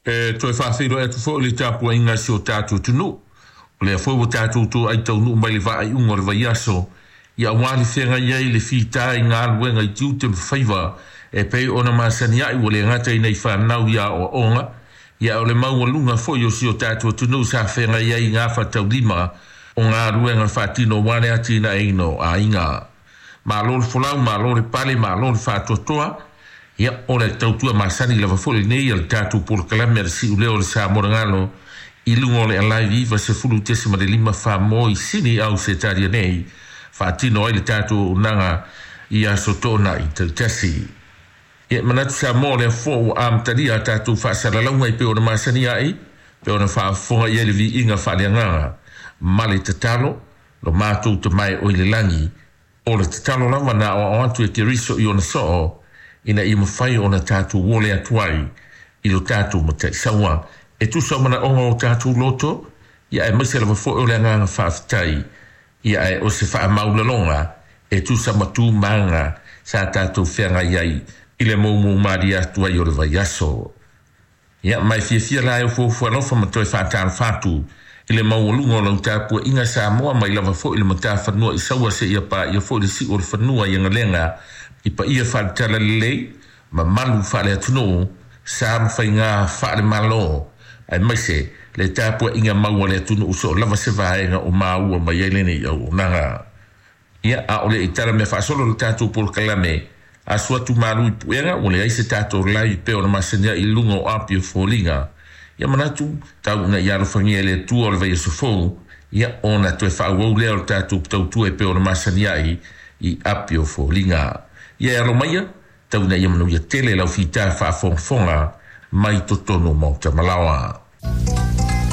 E toe faafeiloai atu foi i le tapuaiga a si o tatou atunuu. O lea foi ua tatou toai taunuu mai le faaiuga o le vaiaso, ia aua le feagai ai le fita i galuega i tiute ma faiva e pei ona masani ai, ua le gata i nei fanau i aoaoga, ia o le maualuga foi o si o tatou atunuu sa feagai ai i gafataulima o galuega faatino aua le atinaeina o aiga. Malo le folau, malo le pale, malo le faatoatoa. Ia, o le tautua masani lava foi lenei a le tatou polokalame a le Siuleo o le Samoa i luga o le Alive 90.5 Famoa i Sini au Setaria nei, faatino ai le tatou auaunaga i aso toonai taitasi. Ia, manatu Samoa o lea foi ua amatalia a tatou faasalalauga e pei ona masani ai, pei ona faafofoga i ai le viiga faaleagaga ma le tatalo, lo matou tamae o i le lagi. O le tatalo lava na aoao atu e Keriso i ona soo, ina ia mafai ona tatou ole atu ai i lo tatou mataisaua. E tusa o manaoga o tatou loto, ia aemaise lava foi o le agaga faafetai, ia ae o se faamaulaloga e tusa ma tumaga sa tatou feagai ai i le moumou malie atu ai o le vaiaso. Ia, mai fiafia la e fuafua alofa ma toe faatalofa atu i le maualuga o lau tapuaiga Samoa mai lava foi le matafanua i Saua seia paia foi le siu o le fanua i Agalega i paia faale-talalelei, mamalu faale-atunuu, sa ma faiga faale-Malo, aemaise le tapuaiga mau a le atunuu so o lava se vaega o maua mai ai lenei auaunaga. Ia, a o le i tala mea faasolo le tatou polokalame, asu atu malu i puega, ua leai se tatou live pei ona masani ai i luga o api o foliga. Ia manatu, tau ina ia alofagia e le Atua o le vaiaso fou, ia ona toe faaauau lea o le tatou tautua e pei ona masani ai i api o foliga. Ia e alo maia, tau ina ia manuia tele lau fita faafogafoga mai totonu o Maota Malaoa.